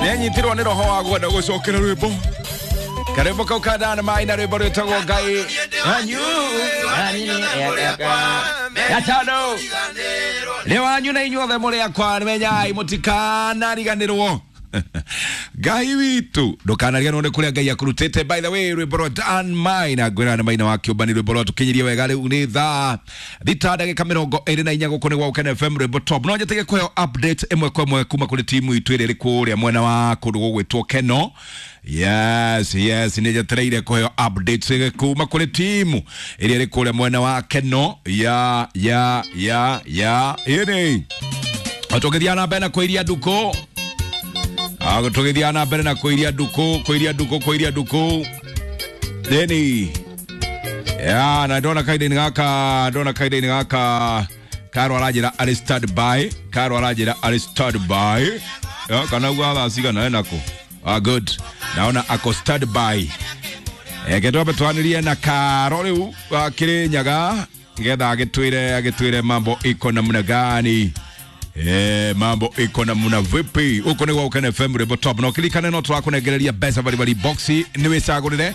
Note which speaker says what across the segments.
Speaker 1: Nĩanyitirwo nĩ roho wa gwenda gũcokera rwĩmbo karwĩmbo kau ka Dan Maina, rwĩmbo rwĩtagwo Ngai wanyu gatano nĩ wanyu na inyuothe mũrĩ akwa, menyai mũtikanariganĩrwo Ngai witũ, ndũkanariganĩrwo nĩ kũrĩa Ngai akũrutĩte. By the way, rwĩmbo rwa Dan Maina, ngwĩra nĩ Maina wa kĩũmbani, rwĩmbo rwa tũkinyirie wega. Rĩu nĩ thaa 6:24 gũkũ nĩ gwa Ũkene FM, rwĩmbo top. No njĩtĩke kũheo update ĩmwe kwa ĩmwe kuma kũrĩ timu itũ ĩrĩa ĩrĩ kũrĩa mwena wa kũndũ gũgwĩtwo Keno. Yes, nĩ njetereire kũheo updates kuma kũrĩ timu ĩrĩa ĩrĩ kũrĩa mwena wa Keno ya ĩnĩ. Tũgĩthiĩ na mbere na kũiria ndukũ, tũgĩthiĩ na mbere na kũiria ndukũ, kũiria ndukũ, kũiria ndukũ theni ya na ndona kaida-inĩ gaka, ndona kaida-inĩ gaka Karo aranjĩra arĩ stand by, Karo aranjĩra arĩ stand by ya, kana uga thaa cigana enako. Ah, good, naona ako stand by. Eke twambe twanĩrie na Karo rĩu wa Kĩrĩnyaga getha agĩtwĩre mambo iko namna gani. Mambo iko namna vipi huko? Nĩ gwa Ũkene FM, rwĩmbo top. No kirikane no tũrakũnengereria mbeca baribari. Boxi nĩ wĩcagũrĩre,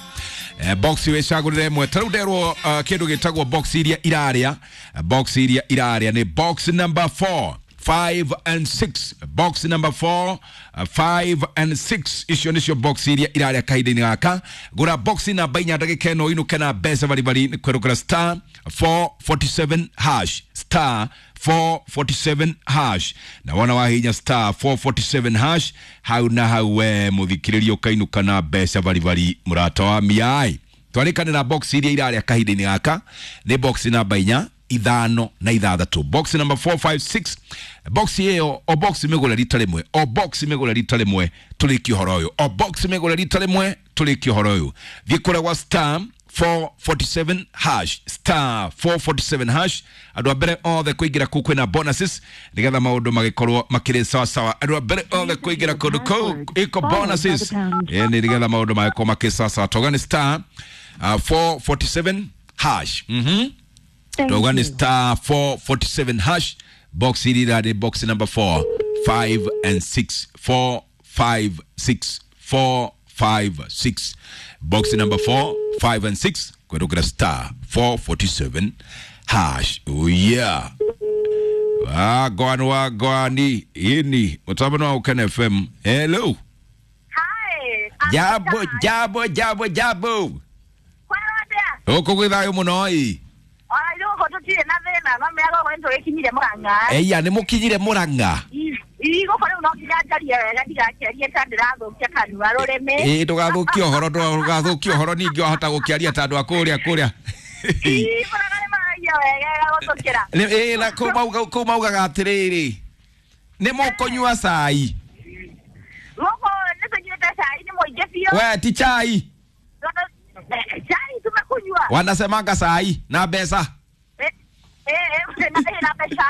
Speaker 1: box wĩcagũrĩre ĩmwe. Ta rĩu nderwo kĩndũ gĩtagwo box iria irarĩa, box iria irarĩa nĩ box number 4, 5 and 6, box number 4, 5 and 6, icio nicio box iria irarĩa kahinda-inĩ gaka. Gũra box namba 4 ndagĩka ĩno inũke na mbeca baribari nĩ kwerũkĩra star 447 hash, star 447 hash. Na wona wahinya star 447 hash hau na hau, we mũthikĩrĩria, ũkainũka na mbeca baribari. Mũrata wa miai, twarĩkanĩra box iria irarĩa kahinda-inĩ gaka nĩ box namba 4, 5 na 6, box number 456. Box ĩyo, o box mĩgũre rita rĩmwe, o box mĩgũre rita rĩmwe, tũrĩkie ũhoro ũyũ. O box mĩgũre rita rĩmwe, tũrĩkie ũhoro ũyũ. Thiĩ kũrĩa gwa star 447 hash, star 447 hash. Andũ a mbere othe kũingĩra kũu kwĩna bonuses nĩgetha maũndũ magĩkorwo makĩrĩ sawa sawa. Andũ a mbere othe kũingĩra kũndũ kũu iko bonuses ĩni nĩgetha maũndũ magĩkorwo makĩrĩ sawa sawa. Tauga nĩ star 447 hash. Tauga nĩ star 447 hash. Box iri nĩ box number 4, 5 and 6, 4, 5, 6, 4, 5, 6, box number 4, 5 and 6, kwetokera star 447 hash. Oh yeah, wagwan wagwani ini mutambo wa Ũkene FM. Hello.
Speaker 2: Hi.
Speaker 1: Jabo jabo jabo jabo.
Speaker 2: Kwĩrwo atĩa?
Speaker 1: Gũkũ gwĩ thayũ mũno ĩ.
Speaker 2: Ona ithuĩ gũkũ tũtirĩ na thĩna, no mĩago gwe tũgĩkinyire Mũrang'a.
Speaker 1: Eya, nĩ mũkinyire Mũrang'a?
Speaker 2: Ii, gũkũ rĩu no nginya njarie wega ndigakĩarie ta ndĩrathũkia kanua rũrĩmĩ.
Speaker 1: Ĩ, ndũgathũkie ũhoro, ndũgathũkie ũhoro. Ningĩ wahota gũkĩaria ta andũ a kũrĩa kũrĩa.
Speaker 2: Ii, Mũrang'a nĩ maragia wega gũtũkĩra.
Speaker 1: Ĩ, na kũu maugaga atĩrĩrĩ, nĩ mũkũnyua cai?
Speaker 2: Gũkũ nĩ tũnyuĩte cai nĩ mũingĩ biũ.
Speaker 1: We ti chai.
Speaker 2: Tondũ, chai tumekunywa.
Speaker 1: Wanasemanga cai na mbeca.
Speaker 2: Na mbeca.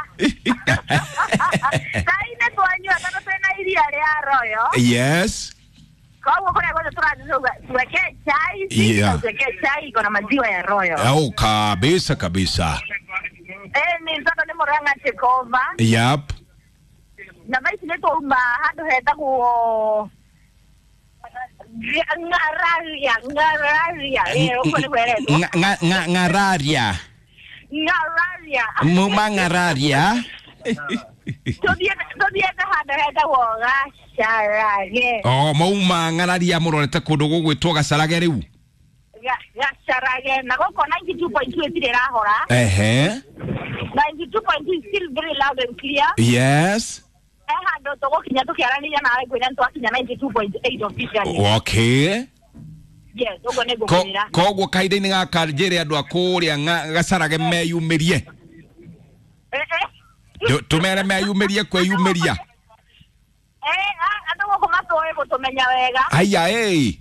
Speaker 2: Cai nĩ twanyua tondũ twĩna iria rĩa Royal. Koguo kũrĩa guothe tũrathiĩ tuweke chai, tuweke chai iko na maziwa ya Royal.
Speaker 1: Au kabisa kabisa.
Speaker 2: Ni tondũ nĩ Mũrang'a take over. Na thaa ici nĩ twauma handũ hetagwo Ng'araria, Ng'araria. Ũguo nĩguo ĩretwo.
Speaker 1: Ng'araria.
Speaker 2: Ng'araria.
Speaker 1: Muma Ng'araria.
Speaker 2: Tũthiĩte handũ hetagwo Gacarage.
Speaker 1: Oh, mauma Ng'araria mũrorete kũndũ gũgwĩtwo Gacarage rĩu.
Speaker 2: Gacarage na gũkũ 92.2 ĩtirĩ ĩrahora. 92.2 is still very loud and clear. He handũ tũgũkinya tũkĩaranĩria nawe ngwĩra nĩ twakinya 92.8 officially. Yes, ũguo nĩ ngũkwĩra.
Speaker 1: Koguo kahinda-inĩ gaka njĩre andũ a kũrĩa Gacarage meyumĩrie? Tũmere meyumĩrie kwĩyumĩria?
Speaker 2: Andũ gũkũ matũĩ gũtũmenya wega.
Speaker 1: Haiya ĩ.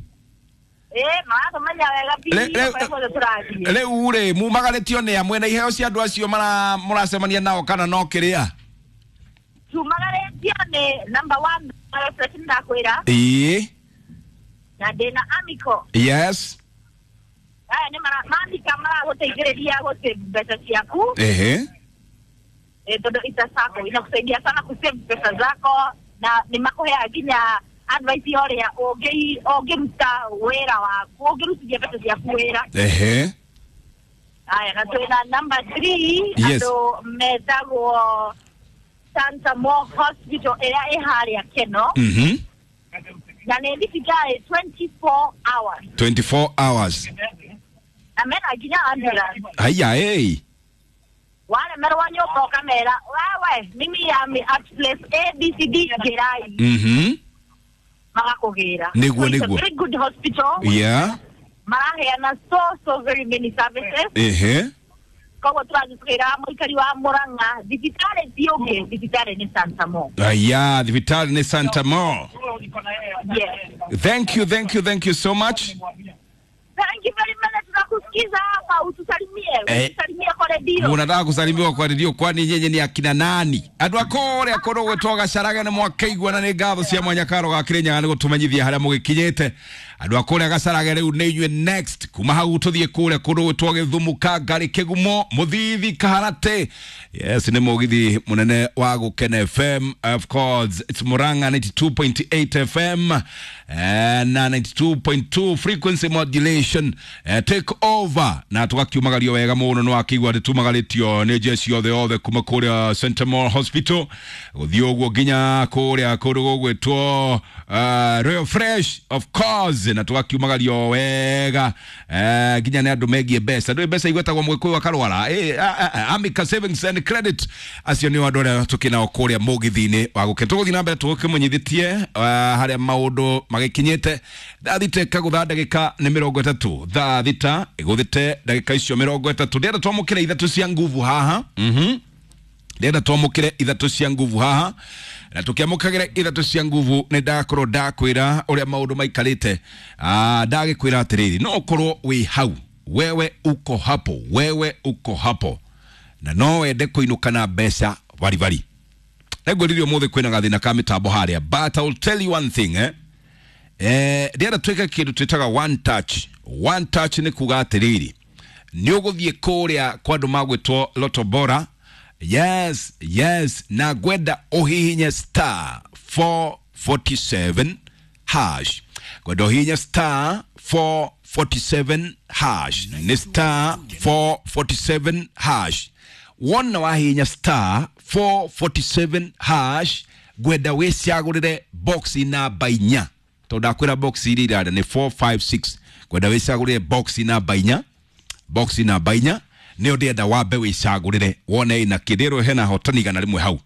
Speaker 2: Maratũmenya wega biũ kũrĩa guothe tũrathiĩ.
Speaker 1: Rĩu rĩ, mumagarĩtio nĩ amwe na iheo cia andũ acio mũracemania nao kana no kĩrĩa?
Speaker 2: Tumagarĩtio nĩ number one Fresh, ndakwĩra. Na ndĩna Amico. Aya nĩ mamika maragũteithĩrĩria gũsave mbeca ciaku. Tondũ ita sacco inakusaidia sana kusave pesa zako. Na nĩ makũheaga nginya advice ya ũrĩa ũngĩruta wĩra waku, ũngĩrutithia mbeca ciaku wĩra. Aya, na twĩna number 3.
Speaker 1: Yes.
Speaker 2: Andũ metagwo Santa Mo Hospital ĩrĩa ĩ harĩa Keno, na nĩ thibitarĩ 24 hours.
Speaker 1: 24 hours.
Speaker 2: Na mena nginya ambulance.
Speaker 1: Haya, hey.
Speaker 2: Waremerwo nyũmba ũkamera, wewe, mimi am at place A B C D, ngĩrai. Magakũgĩra.
Speaker 1: Nĩguo,
Speaker 2: So it's a
Speaker 1: nĩguo.
Speaker 2: very good hospital. Maraheana so so very many services. Koguo tũrathiĩ tũkĩraga mũikari wa Murang'a, thibitarĩ ti ũngĩ, thibitarĩ nĩ Santa Mo.
Speaker 1: Haya, thibitarĩ nĩ Santa Mo.
Speaker 2: Yes.
Speaker 1: Thank you, thank you, thank you so much.
Speaker 2: Thank you very much, tunakusikiza hapa, utusalimie. Utusalimie kwa redio.
Speaker 1: Munataka kusalimiwa kwa redio, kwani nyenye ni akina nani? Andũ a kũrĩa kũndũ gwĩtwo Gacaraga nĩ mwakĩigua, na nĩ ngatho cia mwanya karo ga Kĩrĩnyaga nĩ gũtũmenyithia harĩa mũgĩkinyĩte. Andũ a kũrĩa Gacaraga rĩu nĩ inyuĩ next. Kuma hau tũthiĩ kũrĩa kũndũ gwĩtwo Gĩthumu, Kangarĩ, Kĩgumo, Mũthithi, Kaharate. Yes, nĩ mũgithi mũnene wa Gũkena FM, of course it's Murang'a 92.8 FM na 92.2 frequency modulation, take over, na tugakiumagario wega mũno. Nĩ wakĩigua atĩ tumagarĩtio nĩ jeshi othe othe kuma kũrĩa St. Mall Hospital gũthiĩ ũguo nginya kũrĩa kũndũ gũgwĩtwo Royal Fresh, of course, na tugakiumagario wega nginya nĩ andũ megiĩ mbeca. Ndũĩ mbeca igwetagwo mũgĩkũyũ akarwara. Amica Savings and Credit, acio nĩo andũ arĩa tũkĩnao kũrĩa mũgithi-inĩ wa gũkena. Tũgũthiĩ na mbere tũgũkĩmenyithĩtie harĩa maũndũ magĩkinyĩte. Thaa thita ĩkagũtha ndagĩka nĩ 30, thaa thita ĩgũthĩte ndagĩka icio 30. Ndĩrenda twamũkĩre ithatũ cia nguvu haha. Ndĩrenda twamũkĩre ithatũ cia nguvu haha, na tũkĩamũkagĩra ithatũ cia nguvu nĩ ndakorwo ndakwĩra ũrĩa maũndũ maikarĩte. Ndagĩkwĩra atĩrĩrĩ, no ũkorwo wĩ hau, wewe uko hapo, wewe uko hapo, na no wende kũinũka na mbeca baribari. Nĩngwĩrire ũmũthĩ kwĩna gathĩna ka mĩtambo harĩa, but I will tell you one thing, eh? Ndĩrenda twĩke kĩndũ twĩtaga one touch. One touch nĩ kuga atĩrĩrĩ, nĩ ũgũthiĩ kũrĩa kwa andũ magwĩtwo Lotto Bora. Yes, na ngwenda ũhihinye star 447 hash. Ngwenda ũhihinye star 447 hash, nĩ star 447 hash. Wona wahihinya star 447 hash, ngwenda wĩcagũrĩre box namba 4, tondũ ndakwĩra box iria irarĩa nĩ 456. Ngwenda wĩcagũrĩre box namba 4, box namba 4 nĩyo ndĩrenda wambe wĩcagũrĩre wone ĩna kĩrĩrwo hena hotani 100 hau.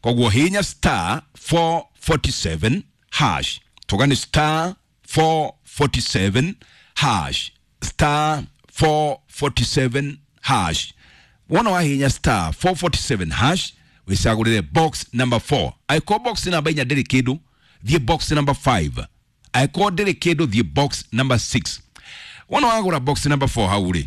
Speaker 1: Koguo hihinya star 447 hash, tuga nĩ star 447 hash, star 447 hash. Wona wahihinya star 447 hash, wĩcagũrĩre box number 4. Angĩkorwo box namba 4 ndĩrĩ kĩndũ, thiĩ box number 5. Angĩkorwo ndĩrĩ kĩndũ, thiĩ box number 6. Wona wagũra box number 4 hau rĩ,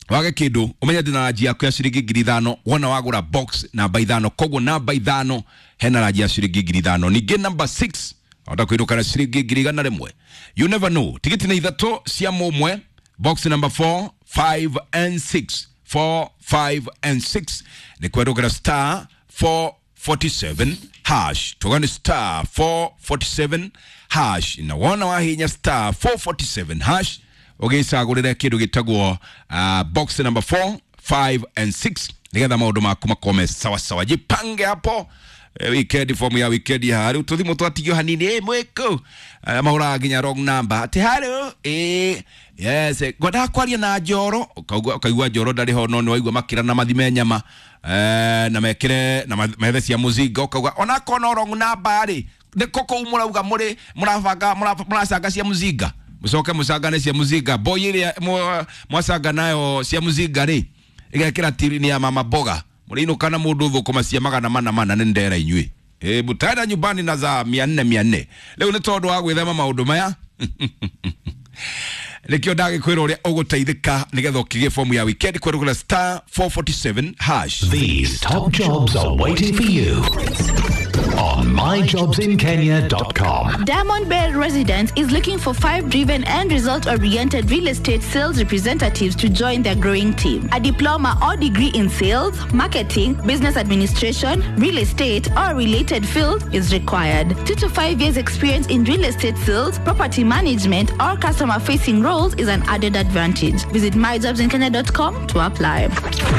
Speaker 1: wage kĩndũ, ũmenye ndĩna ranji yaku ya ciringi 5,000. Wona wagũra box namba 5, koguo namba 5 hena ranji ya ciringi 5,000. Ningĩ namba 6 wahota kũinũka na ciringi 100,000. You never know. Tigiti nĩ ithatũ cia mũmwe, box number 4, 5 and 6, 4, 5 and 6, nĩ kwerũgĩra star 447 hash. Tuga nĩ star 447 hash, na wona wahinya star 447 hash, ũgĩcagũrĩre kĩndũ gĩtagwo box number 4, 5 and 6, nĩgetha maũndũ maku makome sawa sawa. Jipange hapo. Weekend, form ya weekend ya rĩu tũthimũ twatigio hanini, mwĩkũ mahũraga nginya wrong number atĩ hello, yes, ngwendaga kwaria na Njoro. Ũkaigua Njoro ndarĩ ho, no nĩ waigua makĩra na mathime nyama, na mekĩre na methe cia mũzinga, ũkauga onakorwo no wrong number rĩ, nĩ kũ kũu mũrauga mũrĩ mũrabanga mũracanga cia mũzinga, mũcoke mũcangane cia mũzinga boy ĩrĩa mwacanga nayo cia mũzinga rĩ, ĩgekĩra tiri ya mama mboga, mũrĩinũka na mũndũ thũkũma cia 400 nĩ ndera inyuĩ. Mtaenda nyumbani na za 400 400. Rĩu nĩ tondũ wa gwĩthema maũndũ maya, nĩkĩo ndagĩkwĩra ũrĩa ũgũteithĩka nĩgetha ũkĩgĩe fomu ya weekend kwerũgũra star 447 hash.
Speaker 3: These top jobs are waiting for you on My myjobsinkenya.com.
Speaker 4: Diamond Bell Residence is looking for 5 driven and result-oriented real estate sales representatives to join their growing team. A diploma or degree in sales, marketing, business administration, real estate, or related field is required. 2 to 5 years experience in real estate sales, property management, or customer-facing roles is an added advantage. Visit myjobsinkenya.com to apply.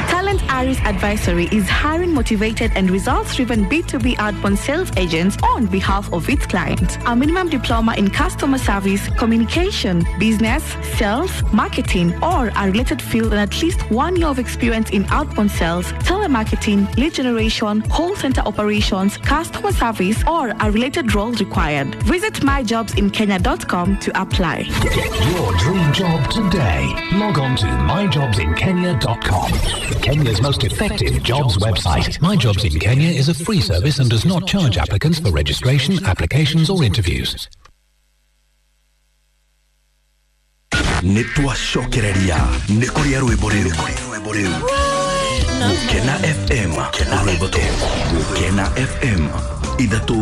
Speaker 5: Talent Aris Advisory is hiring motivated and results-driven B2B outbound sales agents on behalf of its clients. A minimum diploma in customer service, communication, business, sales, marketing, or a related field and at least 1 year of experience in outbound sales, telemarketing, lead generation, call center operations, customer service, or a related role required. Visit myjobsinkenya.com to apply.
Speaker 3: Get your dream job today. Log on to myjobsinkenya.com. Kenya's most effective jobs website. My Jobs in Kenya is a free service and does not charge applicants for registration, applications, or interviews.
Speaker 6: Nĩ twacokereria nĩ kũrĩa rwĩmbo rĩu Gũkena FM, rwĩmbo tũ Gũkena FM ithatũ.